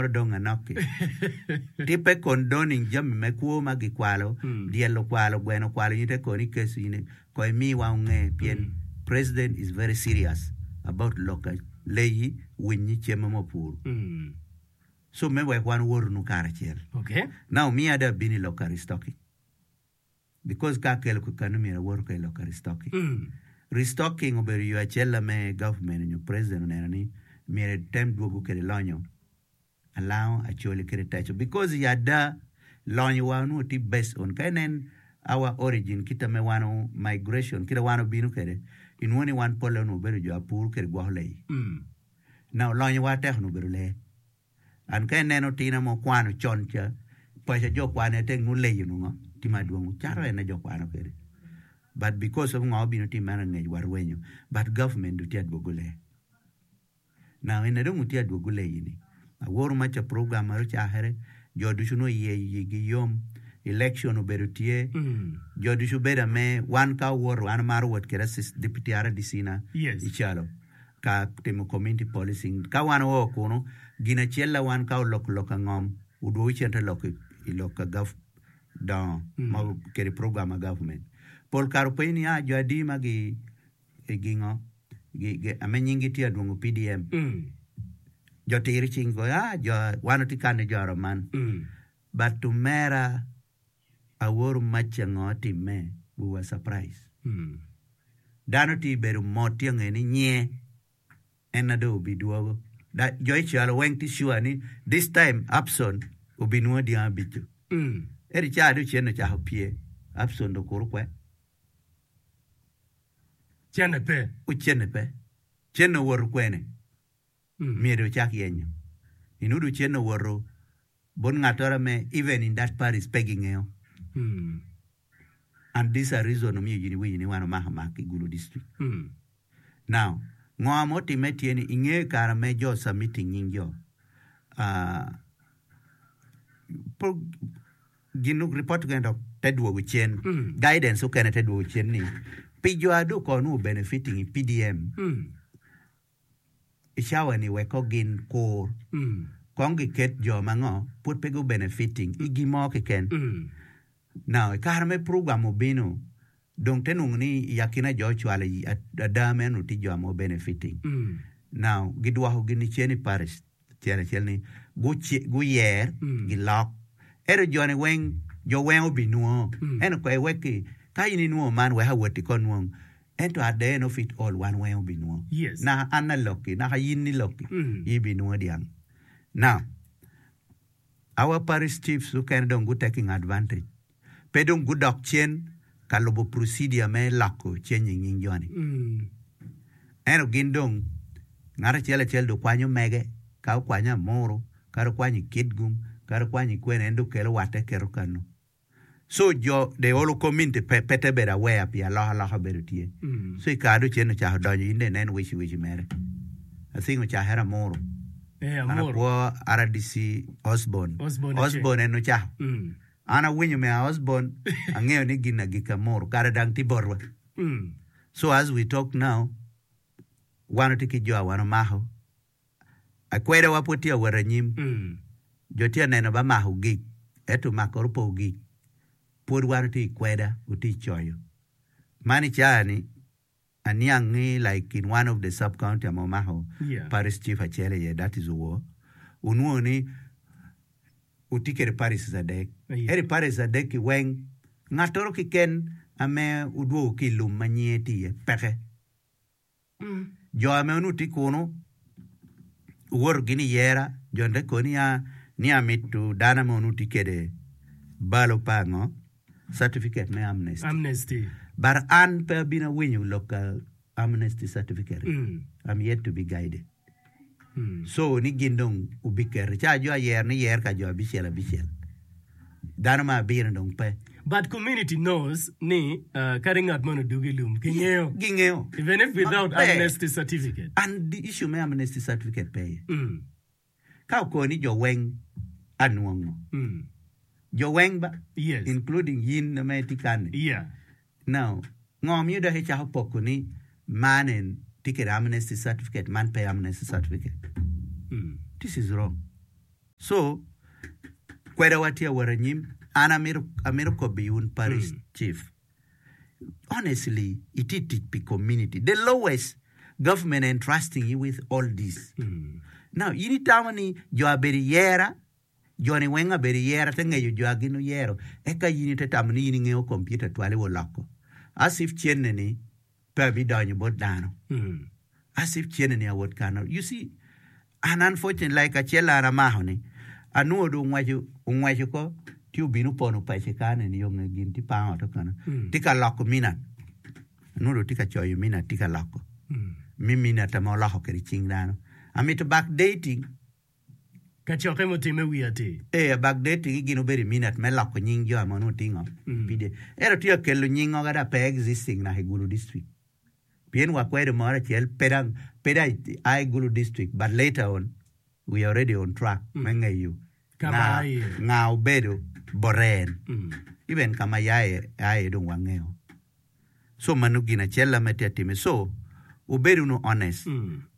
moro dong anok-ki. Ti pe condoning jami me kwo ma gikwalo, dyel okwalo, gweno okwalo in ite kono ikeco in ko imiwa onge pien president is very serious about lok leyi, winyi, cem ma opuru. So me wek wan owotu karacel. Now miya dong abino i lok ka restocking. Because ka akelo kekanu myero awoto ka i lok ka restocking. Restocking obedo yo acel me government nyo president oneno ni myero etem dwogo kede lonyo alango acholi kede teco because i ada lonyo wa onongo tye based on ka inen our origin kita me wan migration kita wan obino kede inwongo ni wan pole onongo obedo jo apur kede gwoko leyi. Now lonyo wa tek onongo obedo lee. An ka ineno tina mo kwano con ca, paca jo kwano aye tek nongo leyo nongo tye madwong cato en aye jo kwano kwede but because of ngo obino time angec wa rwenyo but government dong tye adwogo lee now ene dong otye adwogo leyi ni aworo ma ca program ma ocakere jo ducu nongo iye igi yom election obedo tye jo ducu bedo ame wan ka owoto an amaro wot kwede assist deputy RDC na i calo. ka timo community policing. Ka wan oo kunu, gin acel la wan ka oloko lok ka ngom, odwogo cente lok i lok ka gov dongo ma kede program ma government. Pol kare openyo ni ah jo adi ma gi gingo ame nying gi tye adwongo PDM. Jo tiro cing go ah jo wan watye kane jo aroman. But omera Aworo maca ngo timme we were surprise dano tye bedo mot tye nge ni nye en na dong obi dwogo jo i calo weng tye sure ni this time Abson obi nwo dyango abico ento ca dong cen ocako pye Abson dong okuru kwe Cene pe. Cene pe. Cene owoto kwene? Myero ocak yenyo. Inudu cene owoto bot ngatoro ame even in that parish pe gingeyo and this a reason omiyo in iwinyo ni wan omako mak i Gulu district. Now ngo ma otime tye ni ingeyo i kare me jo submitting nying jo gin report okene dok te dwogo cen guidance okene te dwogo cen ni pi jo ado ko nongo benefiting i PDM I cawa-ni wek ko gin kur, kong giket jo ma ngo pud pe gu benefiting i gin mo keken. Now, i kare me program obino, dong te nongo ni i akina jo ocwalo i ada meno tye jo ma obenefiting. Now, gidwoko gin cen i parish tyen acel ni guyer, gilok. Ento jo-ni weng, jo weng obinwongo. Ento kwer wek ki, ka in inwongo man wek awoti ko nwong. Ento at the end of it all wan weng obinwongo. Yes. Naka an alokki, naka yin nilokki, in ibinwongo dyang. Now, our parish chiefs mukene dong gu taking advantage. Pe dong gudok cen ka lubo procedure me loko changing nying joni. Ento gin dong ngat acel acel dong kwanyo mege, ka okwanyo Amuru, kadi okwanyo i Kitgum, kadi okwanyo i kwene en dong kelo watte keto kanu. So jo the whole community pe pe te bedo aware pi aloka loka bedo tye. So i kare cen ocako donyo in dong inen wici wici mere. I think ocakere Amuru. Eh, An Amuru. akwo RDC Osborne. Osborne acel. Osborne en ocako. Mm. An awinyo me Osborne angeyo ni gin agikki Amuru kare dang tye botwa. Mm. So as we talk now wan watye ki jo a wan omako Akwedawa pud tye ka wot anyim. Jo tye ka neno ba mako ogik, ento makoro pe ogik. Pwod wan watye i kweda, watye i coyo. Man i caa-ni, aniang ni like in one of the sub county ma omako parish chief acel iye that is Owor, wunwongo ni wutye kwede parishes adek. Ento i parishes adek-ki weng, ngattoro keken ame wudwogo ki i lum ma nyinge tye iye peke. Jo ame onongo tye kunu owoto gin i yera, jo te koni ya ni amito dano ame onongo tye kede balo pa ngo certificate me amnesty. Amnesty. But an pe abino awinyo lok ka amnesty certificate. I'm yet to be guided. So ni gin dong obiketo ca jo ayero ni yer ka jo abicel abicel. Dano ma abiro dong pe. But community knows ni kadi ngat moni odugo i lum kingeyo. Gingeyo. Even if without Maber. amnesty certificate. And the issue me amnesty certificate pe iye. Ka oko ni jo weng anwongo. Jo weng ba. Yes. Including yin ma itye kani. Yeah. Now, ngo miyo dok icako poko ni man en tye kede amnesty certificate man pe amnesty certificate? This is wrong. So, kweda wa tye awot anyim, an amito amito kobo i un parish chief. Honestly, itye tic pi community. The lowest government entrusting you with all this. Now, in itamo ni jo abedo i yera, jo-ni weng abedo i yera te ngeyo jo a gin oyero, eka in ite tamo ni in ingeyo computer twal iwo loko. As if cene ni pe abidonyo bot dano. As if cene ni awot kano. You see, And unfortunately like acel an amako ni anwongo dong ongweco ongweco ko ci obino opono pace kany eni yo nge gin tye pango ote kono tye ka loko minat anwongo dong tye ka coyo minat tye ka loko mi minat ma oloko kwede cing dano amito back dating Kacokke mutimme wi atir. Ee back dating gin obedo i minat me loko nying jo ma onongo tingo PDM ento tye ka kelo nying oga pe existing naka i Gulu district. Pien wakwedo moro acel pe dang pe dang a i Gulu district but later on we are already on track me ngeyo Ka ma nga a iye. nga obedo bote en. Even ka ma ya iye a iye dong wangeyo. So mano gin acel ame tye atime. So wubed wunu honest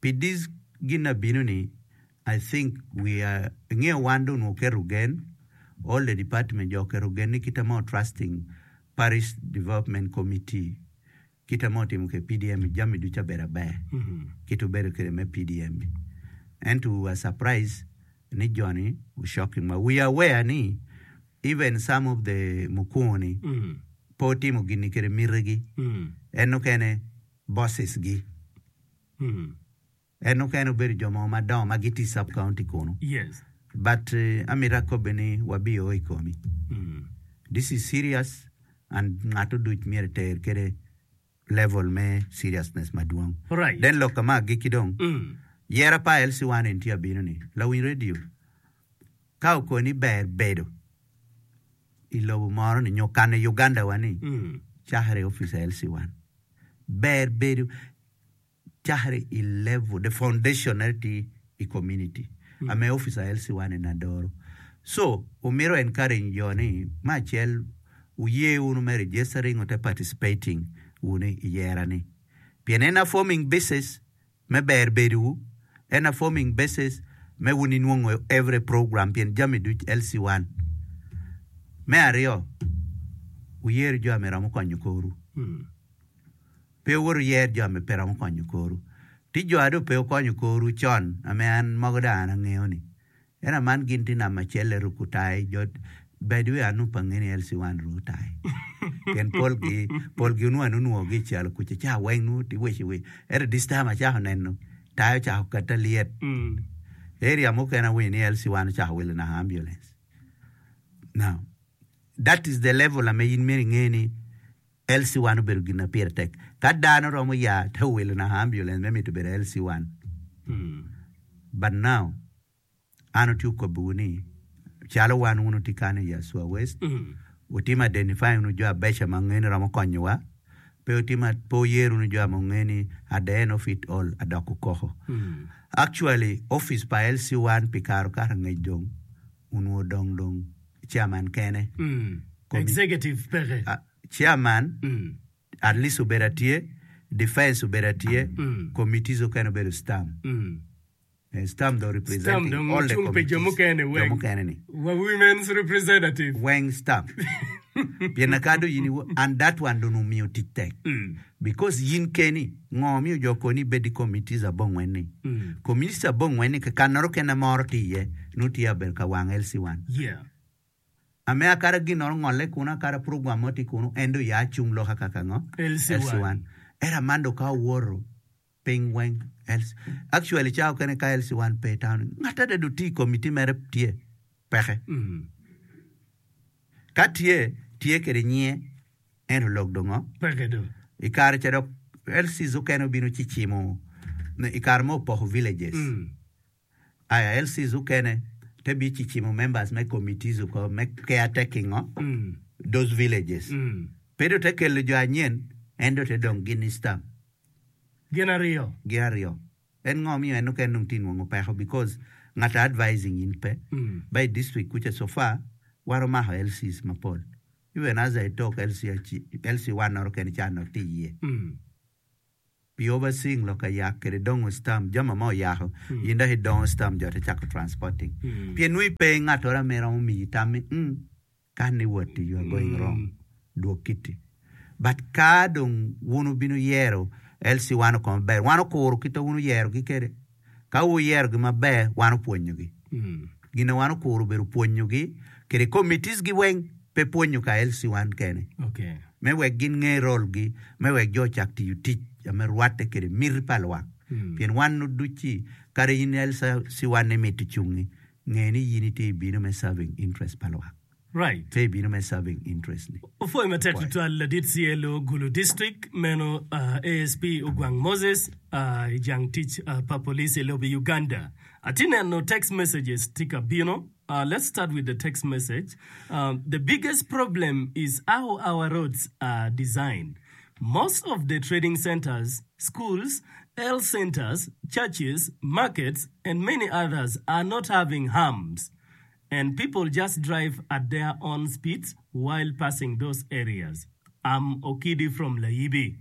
pi this gin abino ni I think we are ingeyo wan dong onongo oketo gen all the department jo oketo gen ni kita mo trusting parish development committee Kite ma otimo kwede PDM i jami ducu abedo aber kite obedo kwede me PDM i. Ento we were surprised ni joni o shocking wa. We are aware ni even some of the mukungu ni pe otimo gini kwede miti gi. En okene bosses gi. En okene obedo jo mogo madongo ma gitye i sub county kunu. Yes. But amito akobbe ni wabio i komi. This is serious and ngat oduc myero eter kede level me seriousness madwong. Right. Then lok ma agikki dong, yera pa LC1 en tye abino ni, lawiny radio, ka okoni ber bedo i lobo moro ni nyo kano i Uganda wa ni, cakre i office LC1. Ber bedo cakre i level, the foundation ene tye i community ame officer LC1 eni adoro. So, omito encourage jo ni me acel wuye wunu me registering ote participating wunu i yera ni pien en a forming basis me ber bedo wu, en a forming basis me wun inwongo every program pien jami duc LC1. Me aryo, wuyer jo ame romo konyo korwu. Pe wuwot wuyer jo ame pe romo konyo korwu. Ti jo a dong pe wukonyo korwu con ame an mogo dong an angeyo ni ento aman gin tye namba acel-le ruko tai jo by the way an nongo pe angeyo ni LC one ruko tai pien polgi polgi onongo an onwongo gi i calo kuca ca weng nongo tye weci wec ento this time acako neno tai ocako kata lyet area mukene awinyo ni LC one ocako wilo naka ambulance now that is the level ame in myero inge ni LC one obedo gin ma pire tek. Ka dano romo ya te owilo naka ambulance me mito bedo LC one. But now, an otye okobbiwu ni, calo wan wun wutye kany i Aswa West, wutimo identifying wunu jo abeca ma wungeyo ni romo konyowa, pe wutimo, pe wuyer wunu jo ma wungeyo ni at the end of it all adoko koko. Actually, office pa LC one pi kare okato angec dong onongo odong dong chairman kene. Executive peke. Chairman at least obedo atye, defense obedo atye, committees okene obedo stam. Stam dong representing dong all the ocung pi jo committees. mukene Jo weng. mukene ni. Wa women's representative. Weng stam. Pien akado in iwo, and that one dong omiyo tic tek. Because in keni, ngo miyo jo koni ibed i committees abongwen ni? Committees abongwen ni kanoro kene moro tye iye, nongo tye abedo ka wang LC1. Yeah. Ame akara ginoro ngolle kunu, akara program mo tye kunu, en dong ya cung loka kaka ngo? LC1. LC1. Ento aman dong ka owoto piny weng, LC, actually cawa okene ka LC1 pe i town, ngat adada oti i committee mere tye peke. Ka tye, tye kede nyinge. Ento lok dong ngo? Peke do. I kare ca dok LCs okene obino ci cimo i kare ma opoko villages. Aya LCs okene te bi ci cimo members me committees oko me care taking ngo? Those villages. Pe do te kelo jo anyen en do te dong gin i stamp. Gin ariyo. Gin ariyo. En ngo miyo en okene dong tye nwango peko because ngat a advising in pe. Ba i district kuca so far wan omako LCs mapol. Even as I talk LC one noro kene ca nongo tye iye. Pi overseeing lok ayak kede dongo stamp jami ma oyako in dok idongo stamp jo te cako transporting pien nongo ipe ngatoro ame romo miyi tam ni umm kan ni wot you are going wrong dwog kiti but ka dong wun wubino yero LC wan okome maber wan okuro kit ma wun wuyero gi kede ka wuyero gi maber wan opwonyo gi gin ma wan okuro obedo pwonyo gi kede committees gi weng pe pwonyo ka LC wan kene. Me wek gin nge role gi, me wek jo ocak tiyo tic ame rwatte kede miti pa lwak. Pien wan duc-ci, kadi in LC wan ni mito cungi, nge ni in itye ibino me serving interest pa lwak. Right. Pe ibino me serving interest ni. Opwoyo matek tutwal ladit CLO Gulu District meno ASP Ogwang Moses i jang tic pa police i lobo Uganda. Atye neno text messages tye ka bino. Let's start with the text message. The biggest problem is how our roads are designed. Most of the trading centers, schools, health centers, churches, markets and many others are not having humps and people just drive at their own speeds while passing those areas. I'm Okidi from Layibi.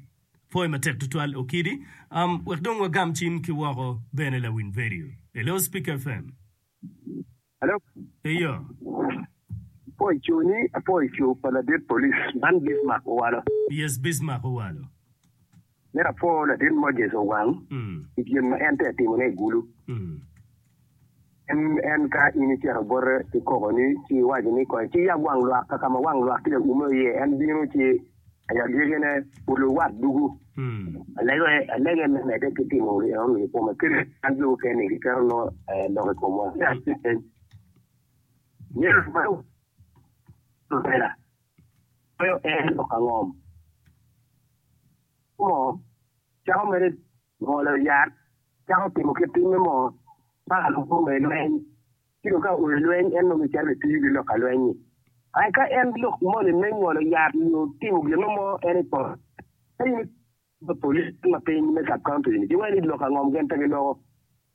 Pwoyo matek tutwal Okidi. Wek dong wagam cim ki woko bene lawiny vedio. Hello Speak FM. Hello. Eyo. Apwoyo coni, apwoyo co pa ladit police man Bismarck Owalo. Yes, Bismarck Owalo. Mito apwo ladit Moses Owang i gin ma en tye ka timone i Gulu. En en ka in icito bote ki koko ni ci iwaco ni kong ci yab wang lwak ka ma wang lwak tye ka ume iye en bino ci I agikine, olo wat ducu. Alege me medde ki timo enoni i kome kadi an jo mukene-ni giketo nongo lok i komwa. Myero lutela loyo en lok angom mo cako mere ngolo yat cako timo kit timme mo paka lubo me lweny. Ci dong ka oyo lweny, en nongo gicito gitiyo ki lok ka lweny-nyi. Ai ka en lok moni me ngolo yat nyo timo gin mo en i poto, ka in i police ma piny me sub county ni giwaco ni lok angom gin pe giloko.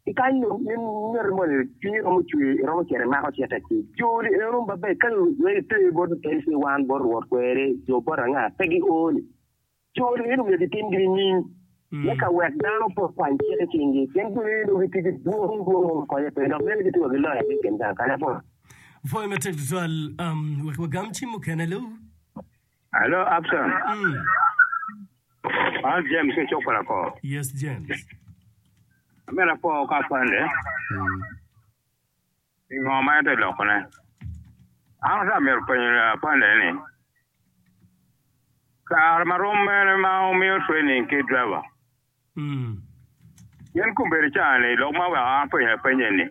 Ki kany dong in ngat moni cwinyi romo cwer iromo cito imako cite ci joni eno maber ka wek iter bot LC one bot rwot kweri jo bot anga pe gio ni. Co ni myero gitimgi nining me ka wek dano pe okwany cik i cinggi? Pien jo ni dong gitye ki dwong dwong mo ma konye pe, dok bene gitye wa ki loya ki i kin gang kal. Apwoyo. Pwoyo matek tutwal. Wek wagam cim mukene lu. Hello, Absalom. An James ki cuk pa lakor. Yes, James. Amito apwo ka apande. Pingo ma en tye ka lokone? An ata amito penyo lapande ni, kare ma rom mene ma wumiyo training ki driver? Pien kombeddi ca-ni lok ma weko an apenyo lapeny eni,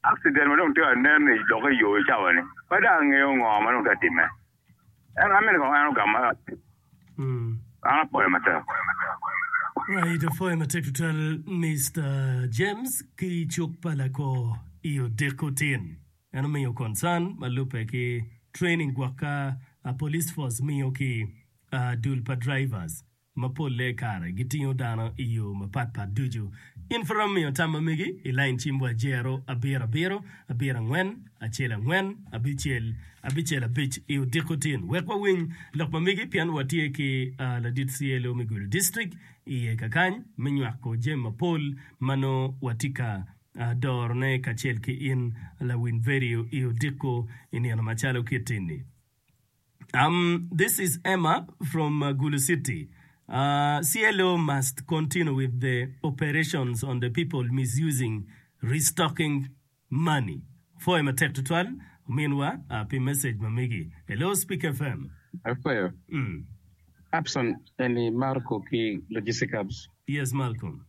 accident ma dong tye ka nen i lok i yo i cawa-ni, pe dong angeyo ngo ma dong tye ka timme. Ento amito kong en ogamma an apwoyo matek. Right, apwoyo matek tutwal Mister James ki cuk pa lakor i odiko tin. En omiyo concern ma lubbe ki training gwok ka police force miyo ki dul pa drivers. ma polle kare gitingo dano i yo mapatpat ducu. In pud romo miyo tam ma megi i lain cim wa jero abiro abiro, abiro angwen, acel angwen, abicel, abicel abic i odiko tin. Wek wawiny lok ma megi pien watye ki ladit CLO me Gulu District iye kakany me nywako jami mapol ma nongo watye ka dorone kacel ki in lawiny vedio i odiko i nino macalo kit tin-ni. Um, this is Emma from uh, Gulu City. Uh, CLO must continue with the operations on the people misusing restocking money. Pwoyo matek tutwal ominwa uh, pi message ma megi. Hello Speak FM. Apwoyo. Abson eni Marco ki Logistic Hubs. Yes Malcolm.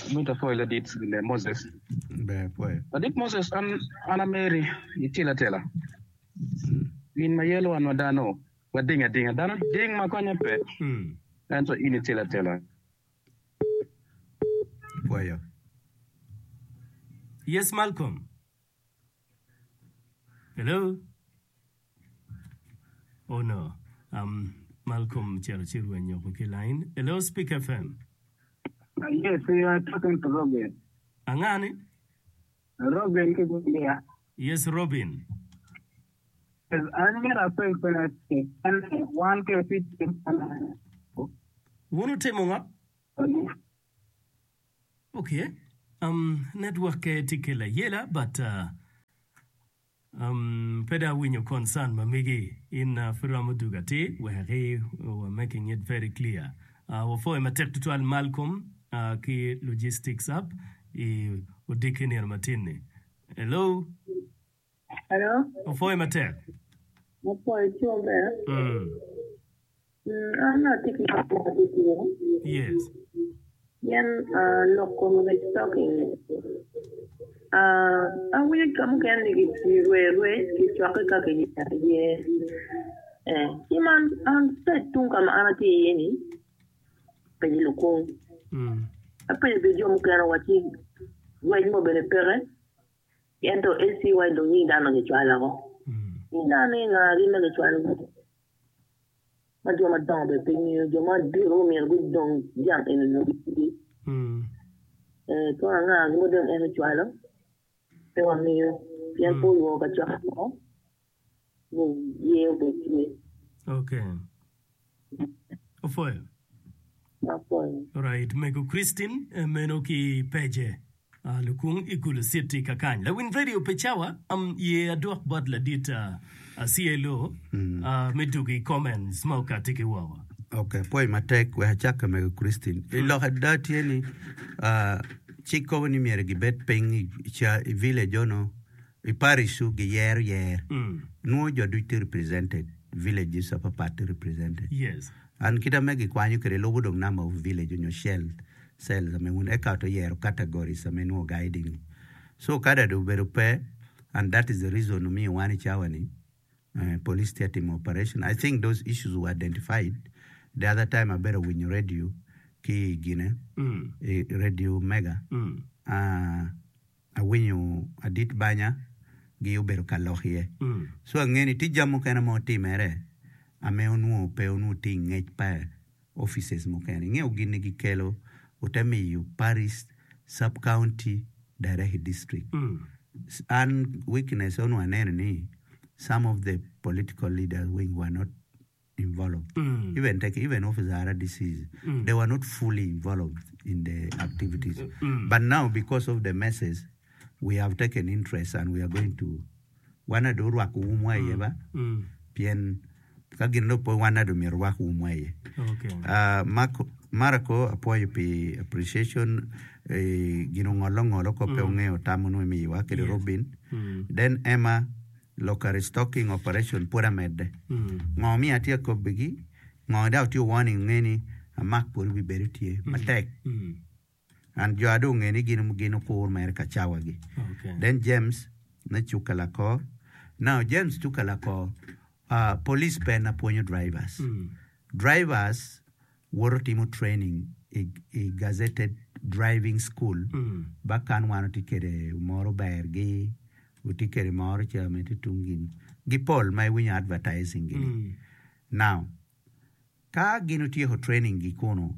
Amito apwoyo ladit Moses. Ber apwoyo. Ladit Moses an an ameri itye latela. Gin ma yelo wan wa dano wading adinga. Dano ding ma konye pe, ento in itelo atela. Pwoyo. Yes Malcolm. Hello. Oh no. Um, Malcolm cito ci rwenyo oko ki line. Hello Speak FM. Yes, you are talking to Robin. Angani? Robin ki Gulia. Yes Robin. Yes, an myero apeny peny acel. An wan ke pi tim Wun wutimo ngo? Ok, um, network-ke tye kelo ayela but uh, um, pe dong awinyo concern ma megi. In uh, pud romo dugo atir wek i we're making it very clear. Uh, wapwoyo matek tutwal Malcolm uh, ki Logistics Hub i odiki nino matin-ni. Hello. Hello. Opwoyo matek. Apwoyo ci maber. Mm. Mm, an atye ki lok mo atitira. Yes. Pien uh, lok kom rec talking ni. Uh, awinyo ka mukene ni girwe rwec gicwakke ka giye. Eh, ci man an side tung ka ma an atye iye ni apenyo lukung. Mm. Apenyo bene jo mukene wacci rwec mo bene peke. Ento ACY dong nying dano gicwalo woko. Nying dano ni ngagi ma gicwalo gi? Ma jo madongo bene pe ngeyo, jo madito myero gudong jang eni nyo gitye. Ee, kono angagi ma dong en ocwalo? Pe wangeyo, pien pe olwongo kacokke mo ni ye obed tye. Okay. Opwoyo. Apwoyo. Alright, mego Christine meno ki pece. Lukung i Gulu City kakany. Lawiny radio pe cawa ye adwok bot ladit CLO me dugo i comments ma okati ki woko. Ok, apwoyo matek wek acakke mego Christine. I lok ada tye ni cik kobo ni myero gibed piny i village ono i parish-u giyero yer. Nwo jo ducu tye represented, villages apapat tye represented. Yes. And kit ame gikwanyo kwede lubo dong number of village onyo cell cells ame wun eka to yero categories ame nwo guiding. So ka dado obedo pe and that is the reason omiyo wan i cawa ni police tye atimo operation. I think those issues were identified the other time abedo awinyo radio ki i gine i radio mega Awinyo adit banya gi obedo ka lok iye. So ange ni tye jami mukene ma otimere ame onwongo pe onwongo tye i ngec pa offices mukene. Ingeyo gin ni gikelo ote miyo parish, sub county, direct i district. An weakness onongo aneno ni some of the political leaders wing were not involved even take even officer RDCs they were not fully involved in the activities but now because of the messes we have taken interest and we are going to wan ado orwako umwa iye ba pien ka gin dong pe wan ado myero orwak umwa iye Okay. Ah, Marco, Marco apwoyo pi appreciation eh, gin ongolo ongolo ko pe ongeyo tam onongo imiyowa kede Yes. Robin then Emma Lok restocking operation pwod amedde. Ngo miyo atye akobbigi? Ngo dok atye warning nge ni amak pwod obibedo tye matek. And jo ado onge ni gin gin okur mere ka cawa gi. Then James me cuka lakor. Now James cuka lakor, uh, police pe na pwonyo drivers. Drivers woto timo training i, i gazetted driving school ba kan wan otye kede moro ber gi otye kede moro ca ma tye tung gin gi pol ma iwinyo advertising gi ni. Now ka gin otyeko training gi kunu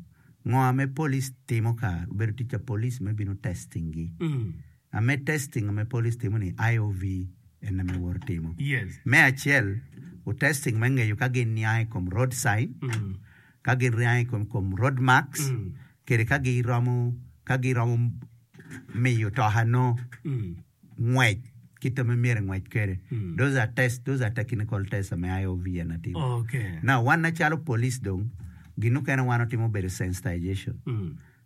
ngo ame police timo ka obedo tic pa police me bino testing gi. Ame testing ame police timo ni IOV en ame woto timo. Yes. Me acel, u testing me ngeyo ka gin niang i kom road sign, ka gin riang i kom kom road marks, kede ka giromo ka giromo miyo toka no ngwec kit ame myero engwec kede. Those are test, those are technical tests ame IOV en atimo. Okay. Now wan macalo police dong, gin mukene wan otimo obedo sensitization.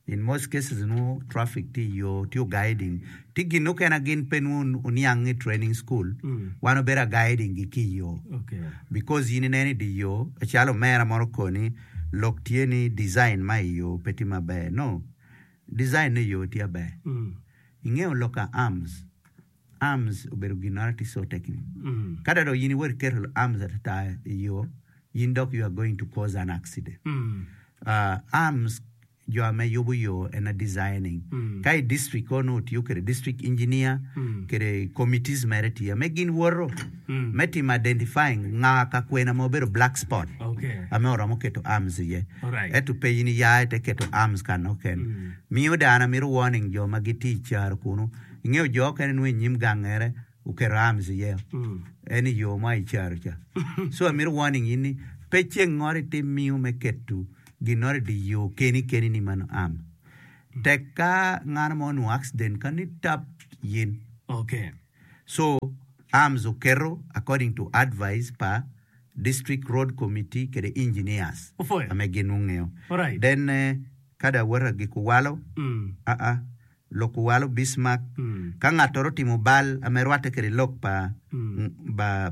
In most cases nwo traffic tye i yo tye guiding tye gin mukene gin pe nwo oniang i training school wan obedo a guiding gi ki i yo because in ineno i di yo calo omera moro okoni lok tye ni design ma i yo pe tye maber no design ne yo tye aber ingeyo lok a arms arms obedo gin moro tye so technical ka dong in iwot iketo arms atata i yo in dok you are going to cause an accident Arms jo ame yubo yo en a designing ka i district kono otiyo kede district engineer kede committees mere tye ame gin woto me timo identifying nga ka kwena ma obedo black spot ame oromo keto arms iye ento pe in iya ite keto arms kano keken miyo dano amito warning jo ma gitye i caro kunu ingeyo jo okene nongo i nyim gangere oketo arms iye en i yo ma i caro ca so amito warning in ni pe ceng ngoro itim miyo me keto. Ginnoro i dye yo keni keni ni mano arm. Tek ka ngano mo onwongo accident ka ni tap yin. Okay. So arms oketo according to advice pa district road committee kede engineers Opwoyo. ame gin ongeyo. Alright. Then ka dong awoto agiko walo, aa, lok owalo Bismarck, ka ngattoro otimo bal ame rwatte kede lok pa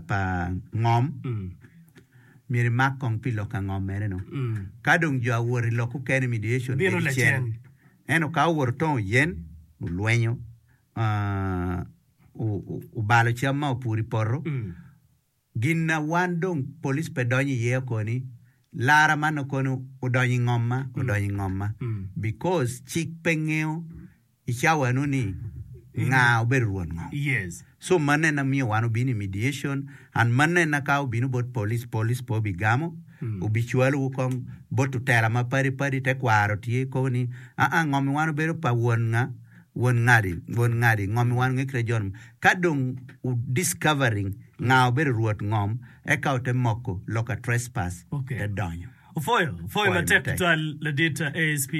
pa ngom, myero imak kong pi lok ka ngom mere no. Ka dong jo awoto i lok okene mediation Bino bedo cen. lacen. Ento ka owoto tongo yen, olwenyo, obalo cam ma opuro i poto, Gin na wan dong police pe donyo iye okoni lara man okoni odonyo i ngom ma odonyo i ngom ma because cik pe ngeyo i cawa eno ni nga obedo rwot ngom. So mano en amiyo wan obino i mediation and mano en ka obino bot police, police pe obigamo obicwalo wu kong bot otela ma padi padi tekwaro tye kobo ni aa ngom i wan obedo pa won nga won ngadi won ngadi ngom i wan nge kite jon Ka dong wu discovering nga obedo rwot ngom eka wute moko lok a trespass te donyo. Opwoyo, opwoyo matek tutwal ladit ASP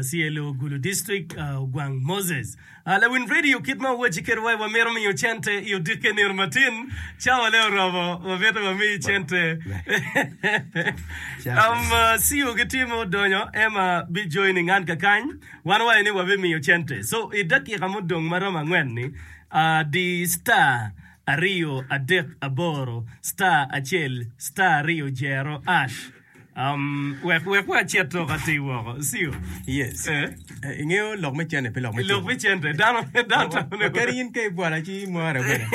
CLO Gulu District Ogwang Moses. Lawiny radio kit ma wuwacci kede wa wamito miyo cente i odikke nino matin cawa ne oromo wamito wami cente. Um, CEO gitye ma odonyo Emma bi joining an kakany. Wan wawaco ni wabimiyo cente. So i dakika mudong ma romo angwen-ni, di star ariyo adek aboro star acel star ariyo jero ash. Um, wek wek wacit dok atir woko. Siyo. Yes. Eh. Eh, ingeyo lok me cente pe lok me Lok tuko. me cente. Dano dano tamo ni. Kadi in ka ibwala ci imware bene.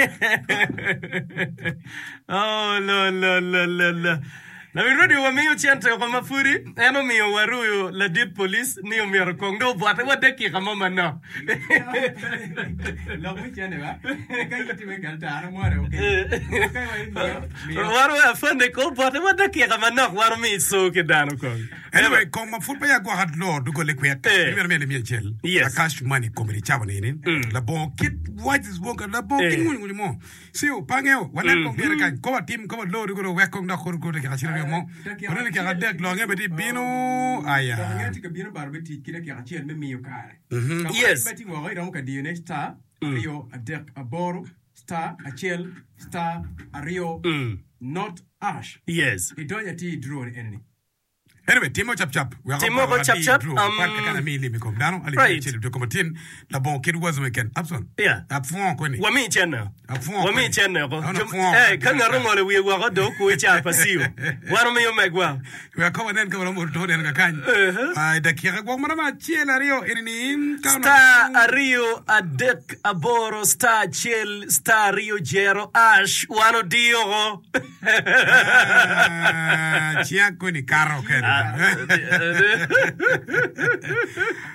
Oh, lo lo lo lo lo. Lawil radio wamiyo cente oko ma pudi en omiyo waruyo ladit police ni omyero kong dong obwote wa dakika mo manok. Wan wa afande kong obwote wa dakika manok wan omi co ki dano kong. Anyway, kong ma pud peya gwoko alor dogole kwek, Eh. imito miyo limiya acel Yes. a cash money komedi cawa ni labongo kit wac labongo kit Eh. ngwiny ngwiny mo. Ci opange, wanen kong gire kany, ko watim, ko walor koro wek kong dok koro koro dakika acel aryo mo, wanen dakika adek longe bene tye bino, aya. Dok inge tye ka bino bar me tic ki dakika acel me miyo kare. Ka ma Yes. in ma tye woko iromo ka diyone star ariyo adek aboro star acel star ariyo not ash. Yes. Idonyo atir i draw ni enini. Anyway, timo cap cap. Wek Timo obwot cap adi cap, draw. um, Kwat kaka na mi lim i kom dano. Alip right. acel odoko matin. Labongo kit wazo keken. Abson. Yeah. Apwongo kweni. Wami cene. Apwongo Wami kweni. cene oko. An Jo- apwongo. Eh, ka ngat ongolo wiye woko dong okwo i car pa Cio. Wan omiyo megwa. Wek ko wanen ka waromo to neno kakany. Uh-huh. Ah, i dakika gwok maromo acel ariyo eni ni ka onongo Star ariyo adek aboro star acel star ariyo jero ash wan odiyo oko. Ah, Cinga koni kato kene.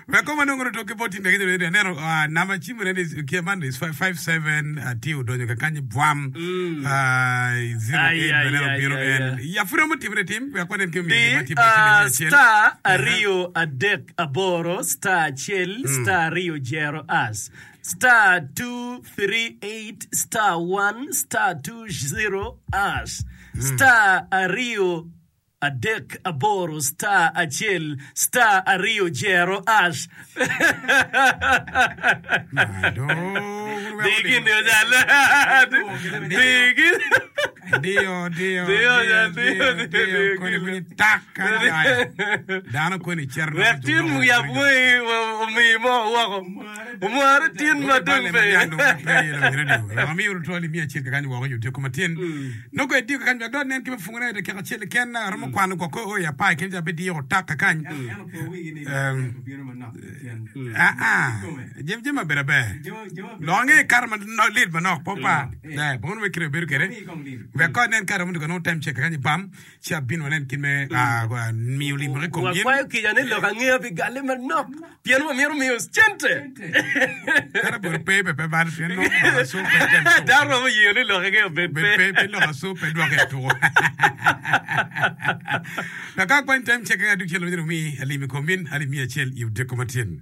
Wek kong wanongo lutok ki bot tim mege joni aneno ah, namba cim mene ni ki man is 57 ah, tye odonyo kakany bwam ah, 08 Ai, ai, bene ai, obino ai, en ai. ya pud romo timone tim wek wanen ki omiyo Di gima tye bot tim ah, mege acel. star ariyo adek aboro star acel star ariyo jero as Star 238 star 1 star 20 ash star ariyo adek aboro star acel star ariyo jero ash. Dii gin ojal. Dii gin. Diyo, diyo, Diyo, diyo, diyo, diyo, diyo, diyo, koni diyo. winyo tak kany aye. Dano koni cito dok Wek tin dong yab wangi omi mo woko. Omware tin ma dong pe. Amiyo lutwal imiyo acel kakany woko yo tyeko matin. Nongo ediyo kakany wek dong nen ki me fungune dakika acel keken aromo kwano gwok o i apar keken ca be diyo otak kakany. Aa, jami jami maber aber. Lok ange kato ma lit manok po pa. Eh, bongo me kire bedo kede. Wek ko nen kato mo nongo tem cek kakany i bam ci abino wanen kit me miyo lim i kom in. Wakwayo kica ni lok angeya pi galle manok pien wamito miyo cente. Kata obedo pe be pe bal pien nongo lok acu pe tem tuko. Dano romo yeo ni lok angeya obed Bed pe. pe pe lok acu pe dwoke i tuko. Wek ka akwany tem cek kakany adug cel ma omi alim i kom in alip miya acel i odiko matin.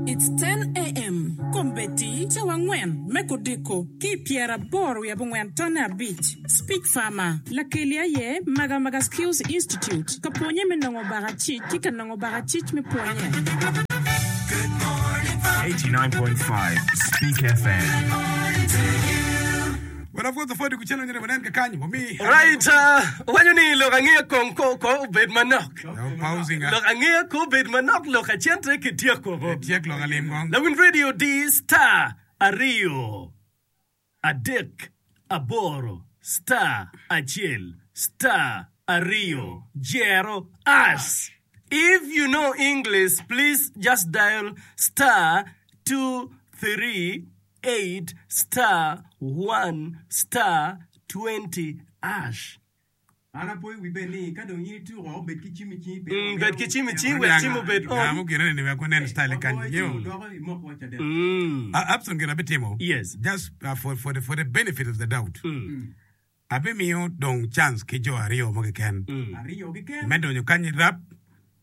It's 10 AM. kombeddi cawa angwen me kudiko ki i pyeraboro wiye abongwen tonne abic. Speech Farmer, Lakeli aye Magamaga Skills Institute ka pwonye me nongo bakacic ki ka nongo bakacic me pwonye. 89.5 Speak FM. Right, waco ni lok angeya kong ko ko obed manok. Lok angeya ko obed manok lok acente ki tyeko woko. Lawiny radio di star aryo adek aboro star acel star aryo jero ash. If you know English please just dial star 238 star 1 star 20 ash. An apoyo wi bed ni ka dong in ituko, bed ki cim i cingi pien Mm, bed ki cim i cingi wek cim obed on. Ngamo gine ni wek wanen style kany. Wagoyo Nyew. cim odoko imok wa caden. Mm. Uh, Abson gin abitimo. Yes. Just for the benefit of the doubt. Abimiyo dong chance ki jo aryo mo keken Aryo keken. me donyo kany i rap.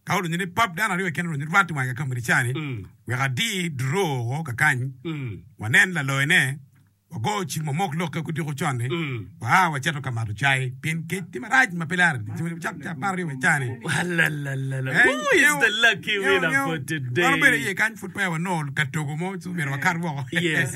Ka odonyo ni pap dano aryo keken odonyo rwat i wange ka komiti cani wek adi draw woko kakany wanen laloyone wago cim wamok lokke kudiko con-ni waa wacito ka mato cai pien kec tye marac ma pe lare cak ca apar aryo wa cani. Alalala. Who is the lucky winner for today? Wan obedo iye kany pud peya wanongo ka togo mo ci myero wakat woko. Yes.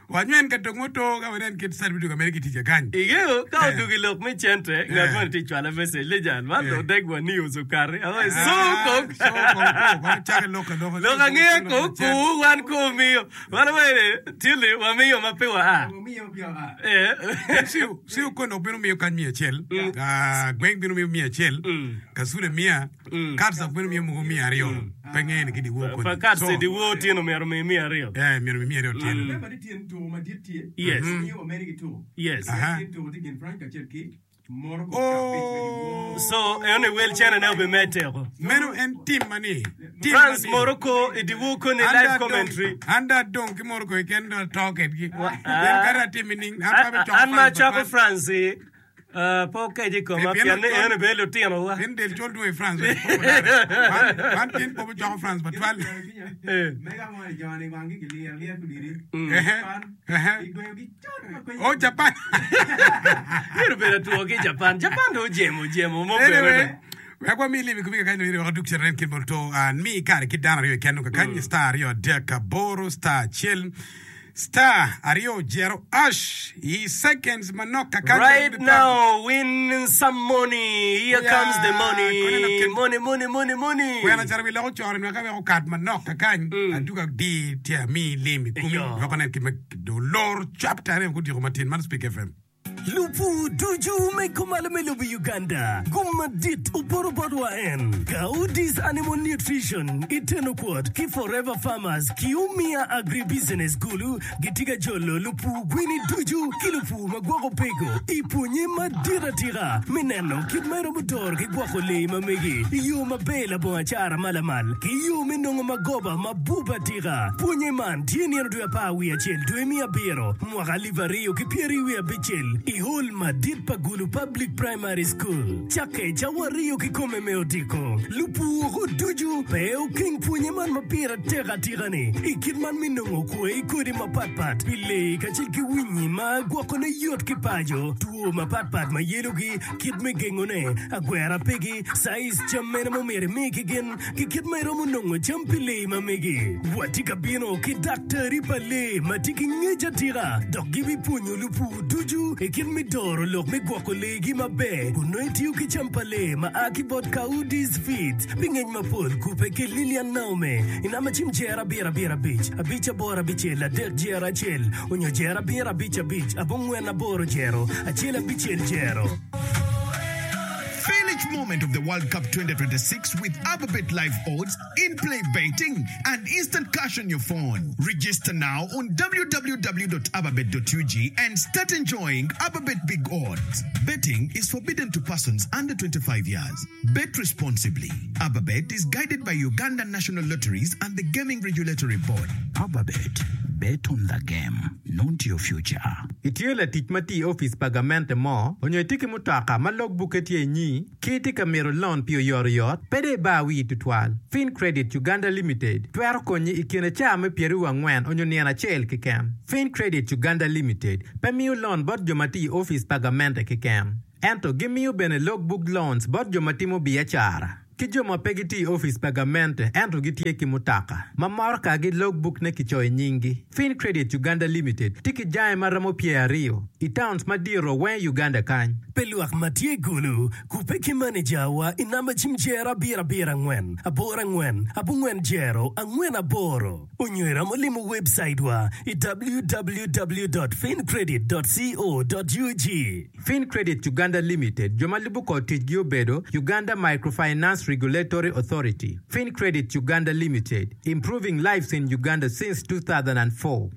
Wanywen ka dong oto ka wanen kit certificate ka mere ki tic akany. Ingeyo ka odwogo i lok me cente, ngat moni tye cwala message ni jal man dong deg wa ni ocukari. Awaco so kong. So kong ko, kono cake lok aloka. Lok angeya ko ku wan ko omiyo. Wan awaco ni tili wamiyo ma pe wa a. Eh. Ciu, ciu kono dok bino miyo kany miya acel, ah, gweng bino miyo miya acel, kasule miya, Cards dok bino miyo mogo 200. Pe ngeyo ni ki dyewor koni. Pa cards i dyewor otyeno myero omi 200. Eh, myero omi 200 otyeno. Remember ni tyen tuko madit tye. Yes. Miyo wamede ki tuko. Yes. Aha. Tyen tuko tye gin Frank kacel ki Morocco ki abic me dyewor. So, eno ni wel cene ne obimedde oko. Meno en tim ma ni. Tim ma France ni. Morocco i dyewor koni An live dong adong, commentary. an dong adong ki Morocco keken dong ato kedgi. Wa- Pien kadi atim nining, an pe abicoko An ma France acako matwal. France-ci, Pe okec i koma, pien ni en obedo litinowa. Pien del col dwong i France, wek po olare. Wan, wan tin po bicoko France matwal. Ehe, ehe. Oh, Japan. Myero obedo atwo ki i Japan. Japan dong ojemo jemo mo bene Anyway, dong. wek wami lim i komi kakany dong wek wadug cito nen kit ma oto. Ah, mi kare ki dano aryo keken dong kakany star 2 3 8 star 1 Star aryo jero ash i seconds manok kakany Right now win some money here comes the money money money money money. Kwena calo wi lok ocore nwaka wek okat manok kakany aduga adi tye ami lim i komi wek wanen kit ma olor chapter aryo gudiko matin man Speak FM. Lupur ducu me kumalo me lobo Uganda, gum madit opoto bot wa en Gaudis Animal Nutrition i Teno Kwot ki Forever Farmers ki Omiya Agribusiness Gulu gitye ka jolo lupur gwini ducu ki lupur ma gwoko pego i pwonye madit atika me neno kit ma iromo doro ki gwoko lee ma megi i yo maber labongo acara ma lamal ki yo me nongo magoba mabup atika. Pwonye man tye nino dwe apar wiye acel dwe me abiro mwaka alip 2026 i hol madit pa Gulu Public Primary School cakke cawa aryo kikome me odiko. Lupur ducu pe okeng pwonye man ma pire tek atika-ni i kit man me nongo kwe kodi mapatpat pi lee kacel ki winyi ma gwokone yot ki paco, two mapatpat ma yelogi, kit me gengone, agwera pigi, caiz cam mene ma omyero imi ki gin, ki kit ma iromo nongo cam pi lee ma megi. Watye ka bino ki daktari pa lee ma tye ki ngec atika dok gibipwonyo lupur ducu i kit me doro lok me gwoko leegi maber kun nongo itiyo ki cam pa lee ma a ki bot Coudis Feeds. Pi ngec mapol, kubbe ki Lilian Naume i namba cim jer abiro abiro abic, abic aboro abicel adek jer acel onyo jer abiro abic abic abongwen aboro jero acel abicel jero. Feel each moment of the World Cup 2026 with Ababet Live Odds, in-play betting, and instant cash on your phone. Register now on www.ababet.ug and start enjoying Ababet Big Odds. Betting is forbidden to persons under 25 years. Bet responsibly. Ababet is guided by Uganda National Lotteries and the Gaming Regulatory Board. Ababet. Bet on the game, not your future. Itye latic ma tye i opic pa gamente mo onyo itye ki mutoka ma log bukke tye inyi ki itye ka mito lon pi oyotoyot? Pe dong ibar wii tutwal. Fin Credit Uganda Limited twero konyi i kine caa me pyeraryo angwen onyo nino acel keken. Fin Credit Uganda Limited pe miyo lon bot jo ma tye i opic pa gamente keken, ento gimiyo bene log book loans bot jo ma timo biacara. Ki jo ma pe gitye i opic pa gamente ento gitye ki mutoka ma morokagi logbukne kicoyo nyinggi. Fin Credit Uganda Limited tye ki jange ma romo pyeraryo i towns madito weng i Uganda kany. Pe lwak ma tye i Gulu kubbe ki manejawa i namba cim jero abiro abiro angwen aboro angwen abongwen jero angwen aboro onyo iromo limo webcaitwa i www dot fincredit dot co dot ug. Fin Credit Uganda Limited, jo ma lubo kor ticgi obedo, Uganda Microfinance Regulatory Authority, Fin Credit Uganda Limited, improving lives in Uganda since 2004.